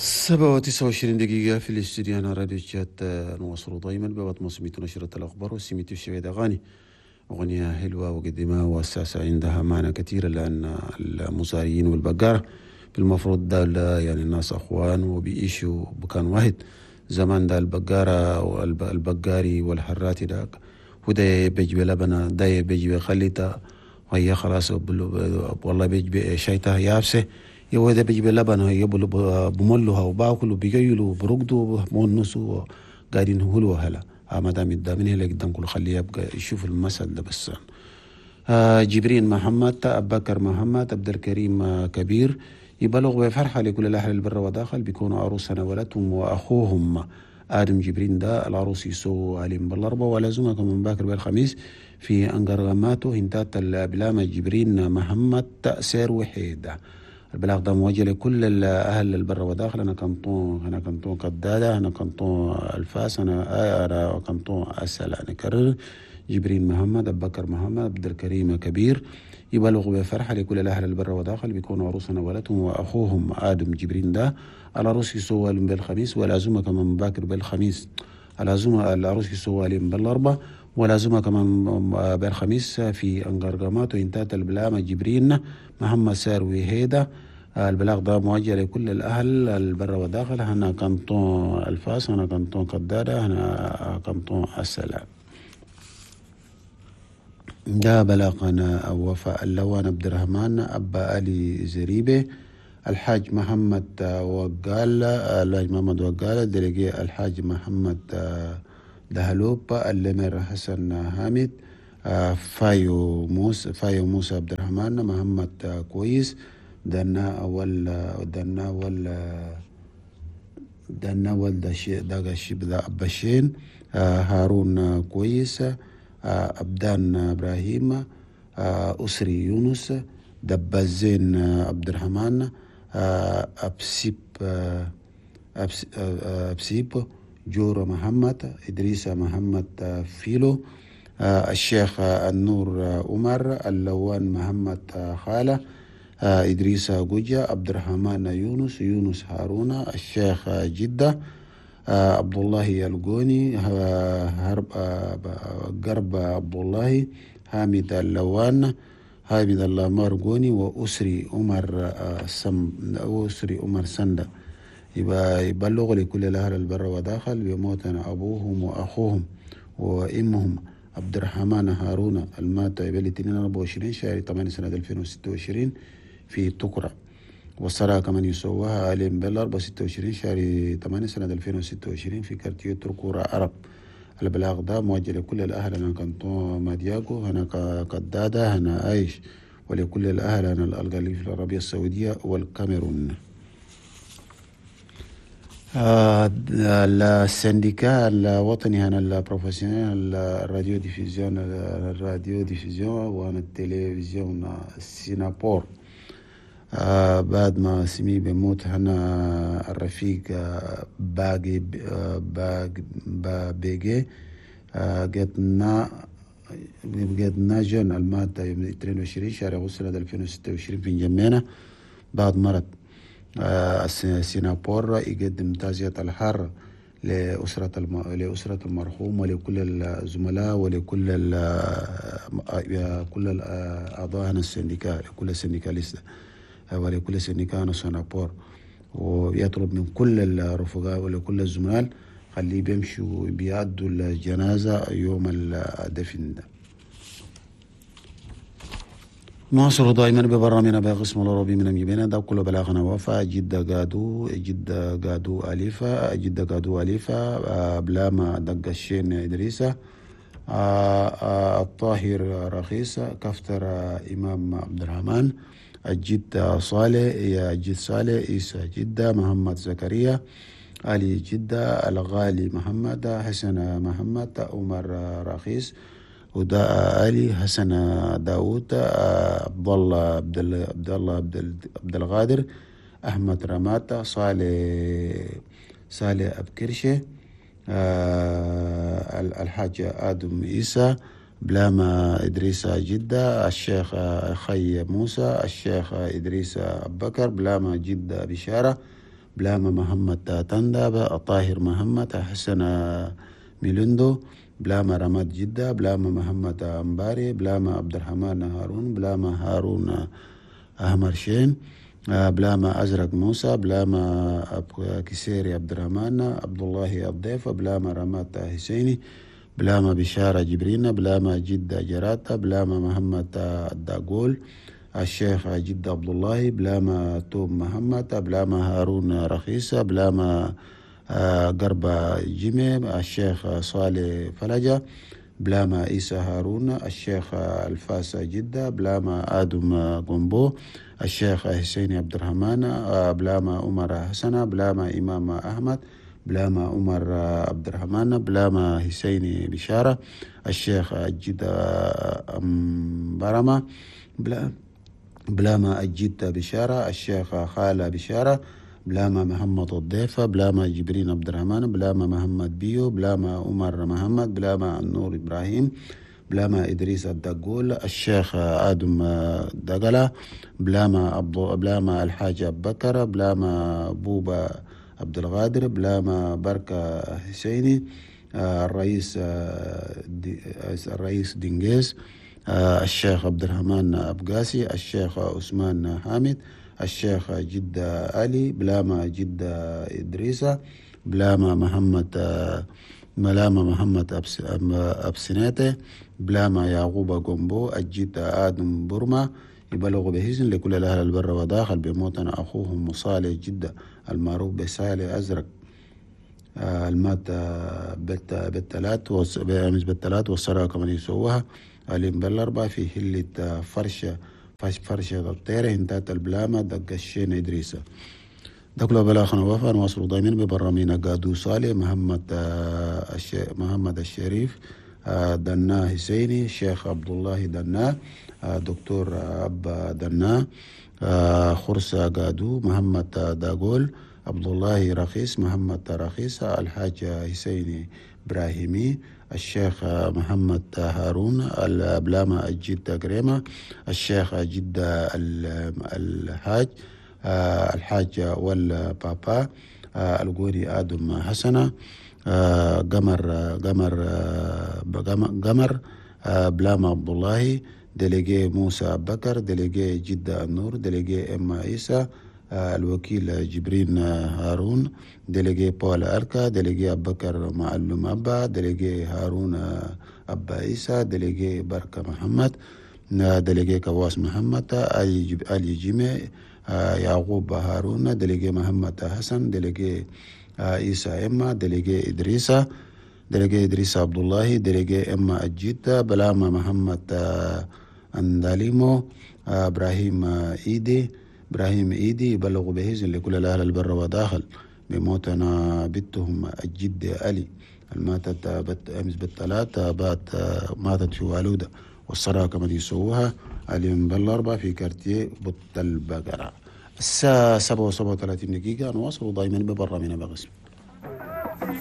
7:29 في الاستوديو هنا راديو تشاد. نواصل دائما ببعض موسمية نشرة الأخبار وسميتو الشبيد أغاني أغنية حلوة وقديمة وأساسا عندها معنى كثير، لأن المزارعين والبقارة بالمفروض ده يعني الناس أخوان وبيعيشوا بكان واحد. زمان ده البقارة والبقاري والحراتي ده وده بيجي لبنة، ده بيجي خليته وهي خلاص والله بيجي شايتها يابسة، يو ده بيجي لبنة يبلو بملوها وباكلوا بيجيلوا برقدوا بونسوا قاعدين هلوا هلا ما دام من هلا قدام كله خليه يبقى يشوف المثل ده بس. جبرين محمد، أبو بكر محمد، عبد الكريم كبير يبلغ بفرحة لكل الأهل البر وداخل بيكونوا عروسنا ولدهم وأخوهم آدم جبرين ده العروس يسو عليهم بالأربعة ولازمها كمان باكر بالخميس في أنقرغماتو هنتات البلامة جبرين محمد تأسير وحيدة. البلاغ ده موجه لكل الأهل البر وداخل. أنا كنطون، أنا كنطون قدادة، أنا كنطون الفاس، أنا كنطون أسأل. أنا كرر جبرين محمد، أبو بكر محمد، عبد الكريم كبير يبلغ بفرحة لكل الأهل البر وداخل بيكونوا عروسنا ولدهم وأخوهم آدم جبرين ده العروس يسوى بالخميس والعزومة كمان باكر بالخميس. العزومة العروس يسوى بالأربعة والعزومة كمان بالخميس في أنقرقمات وإنتات البلامة جبرين محمد ساروي هيدا. البلاغ ده موجه لكل الأهل البر وداخل. هنا كنطون الفاس، هنا كنطون قدادة، هنا كنطون السلام. ده بلاغنا وفاء اللوان عبد الرحمن أبا علي زريبة الحاج محمد وقال الحاج محمد وقال دلقي الحاج محمد دهلوب اللمير حسن حامد فايو موسى عبد الرحمن محمد كويس دنا أول دنا ولد داغشي بدا أبشين هارون كويس أبدان إبراهيم أسري يونس دبازين عبد الرحمن أبسيب جور محمد إدريس محمد فيلو الشيخ النور عمر اللوان محمد خالة إدريس جوجا عبد الرحمن يونس يونس هارون الشيخ جدة عبد الله الجوني هرب قرب عبد الله حامد اللوان حامد اللامار جوني وأسري عمر أسري عمر سندة. يبقى يبلغ لكل الأهل البر وداخل بموتنا أبوهم وأخوهم وإمهم عبد الرحمن هارون المات يبلي 24 شهر 8 سنة 2026 في تكرة، والصلاة كمان يسووها عليهم بالأربعة 26 شهر 8 سنة 2026 في كارتيو تركورة عرب. البلاغ ده موجه لكل الأهل هنا كنتون مادياغو هنا قدادة هنا عايش ولكل الأهل هنا الألغالي في العربية السعودية والكاميرون. ال syndicat الوطني هنا ال professionnel ال radiodiffusion ال radiodiffusion وهنا التلفزيون السينابور. بعد ما سمي بموت هنا الرفيق باقي بيجي قد جون المادة يوم 22 شهر أغسطس سنة 2026 في جمينة بعد مرض. سينابور يقدم تعزية الحار لأسرة المرحوم ولكل الزملاء ولكل كل الأعضاء هنا ال syndicat لكل ال syndicalistes ولكل syndicat سينابور، ويطلب من كل الرفقاء ولكل الزملاء خليه بيمشوا بيعدوا الجنازة يوم الدفن ده. نواصل دائما ببرنامجنا بقسم العربي من مجيبنا ده كله بلاغنا وفا جدة قادو جدة قادو أليفة جدة قادو أليفة بلاما دق الشين إدريسة الطاهر رخيصة كفتر إمام عبد الرحمن الجد صالح يا جد صالح عيسى جدة محمد زكريا علي جدة الغالي محمد حسن محمد عمر رخيص وداء علي حسن داوود عبد الله عبد الله عبد القادر احمد رماته صالح ابكرشه الحاج ادم عيسى بلاما إدريس جدة الشيخ خي موسى الشيخ إدريس أبو بكر بلاما جدة بشارة بلاما محمد تندا، طاهر محمد، حسن ميلندو، بلاما رماد جدة، بلاما محمد أمباري، بلاما عبد الرحمن هارون، بلاما هارون أحمر شين، بلاما أزرق موسى، بلاما كسيري عبد الرحمن، عبد الله الضيف، بلاما رماد حسيني، بلاما بشارة جبرين، بلاما جدة جراتا، بلاما محمد الداقول، الشيخ جدة عبد الله، بلاما توم محمد، بلاما هارون رخيصة، بلاما قربة جيمي، الشيخ صالح فلجة، بلاما عيسى هارون، الشيخ الفاس جدة، بلاما آدم قنبو، الشيخ حسين عبد الرحمن، بلاما عمر حسن، بلاما إمام أحمد، بلاما عمر عبد الرحمن، بلاما حسين بشارة، الشيخ جدة برمة، بلاما الجدة بشارة، الشيخ خالة بشارة، بلاما محمد الضيفة، بلاما جبرين عبد الرحمن، بلاما محمد بيو، بلاما عمر محمد، بلاما النور إبراهيم، بلاما إدريس الدقول، الشيخ آدم دقلة، بلاما الحاج أبو بكر، بلاما بوبا عبد الغادر، بلاما بركة حسيني، الرئيس دينجيز، الشيخ عبد الرحمن أبقاسي، الشيخ عثمان حامد، الشيخ جدة علي، بلاما جدة إدريسة، بلاما محمد ملاما محمد أبسناتة، بلاما يعقوب قنبو، الجدة آدم برما. يبلغ بهزن لكل الأهل البر وداخل بموتنا أخوهم صالح جدة المعروف بصالح أزرق، المات بالثلاث بالثلاث والصلاة كمان يسووها اليوم بالأربعة في هلة فرشة الطيرة انتهت البلامة دق الشين إدريسة. دكلو بلاخنا وفا نواصل دايما ببرامينا قادو صالح محمد الشريف، دنا حسيني، الشيخ عبد الله دنا، دكتور أبا دنا، خرسة قادو، محمد داغول، عبد الله رخيص، محمد رخيص، الحاج حسيني إبراهيمي، الشيخ محمد هارون، البلامة الجدة كريمة، الشيخ جدة الحاج، الحاج والبابا، القوري آدم حسنة، قمر قمر قمر، بلاما عبد الله، délégué موسى بكر، délégué جدة النور، délégué إما عيسى، الوكيل جبرين هارون، délégué بول أركا، délégué أبو بكر معلم أبا، délégué هارون أبا عيسى، délégué بركة محمد، délégué كواس محمد، علي جيمي، يعقوب هارون، délégué محمد حسن، délégué عيسى إما، délégué إدريسة، délégué إدريس عبد الله، délégué إما الجدة، بلاما محمد أنداليمو، إبراهيم إيدي، إبراهيم إيدي. يبلغ بهزن لكل الأهل البر وداخل بموتنا بنتهم الجدة علي الماتت أمس بالثلاثة بات ماتت في والودة، والصلاة كما يسووها اليوم بالأربعة في كارتيه بط البقرة. الساعة 7:37 نواصل دائما ببرامجنا بغسم.